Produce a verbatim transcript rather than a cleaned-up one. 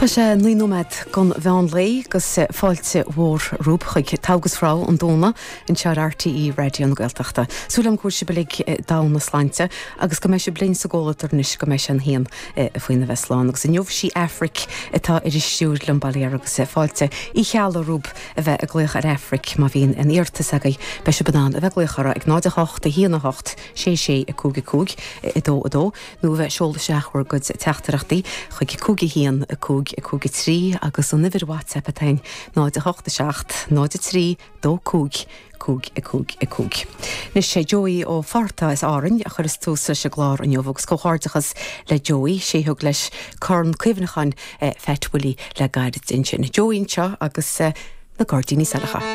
Tá sé naoi nóiméad don mheán lae agus fáilte mhór romhaibh chuig Togha agus Rogha an Domhnaigh anseo ar RTÉ Raidió na Gaeltachta. Súil agam go bhfuil sibh uilig domhain na sláinte agus go mbeidh sibh linn sa gcomhluadar anois go mbeidh sé an haon faoina bheith slán agus inniu sí Aifric atá ar an stiúir liom bail ó Dhia agus fáilte Uí Cheallaigh romhaibh a bheith ag glaoch ar Aifric má bhíonn aon iarratas agaibh beidh sibh in ann a bheith ag glaoch uirthi ag náid a hocht a haon a hocht sé sé a cúig a cúig a dó a dó nó a bheith ag seoladh isteach bhur gcuid teachtaireachtaí chuig cúig a haon a cúig a cúig a trí agus an uimhir WhatsApp atá ann náid a hocht a seacht náid a trí dó cúig cúig a cúig a cúig. Anois sé Joey ó Fátharta as Árainn a chuireas tús leis an gclár inniu agus comhghairdeachas le Joey sé thug leis Corn Cuimhneacháin eh, Phat Willie le gairid ansin. Joey anseo agus eh, na Gairdíní Saileacha.